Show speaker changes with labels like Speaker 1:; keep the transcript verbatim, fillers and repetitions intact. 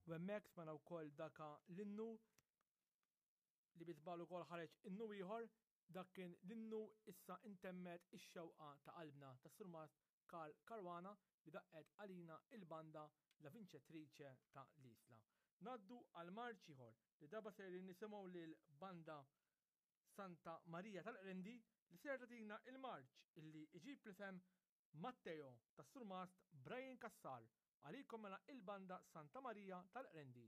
Speaker 1: U hemmhekk smajna wkoll daka l-innu li bi żball ukoll ħareġ innu ieħor, dak kien l-innu "Issa Intemmet ix-Xewqa ta' Qalbna" tas-Surmast Karl Caruana li daqqet għalina il-banda La Vincetrice ta' l-Isla. Ngħaddu għal marċ ieħor li darba sejrin nisimgħu lil banda Santa Marija tal-Qrendi li ser tagħtina il-marċ illi iġib l-isem "Matteo" tas-Surmast Brian Cassar. Għalikom mela il-banda Santa Marija tal-Qrendi.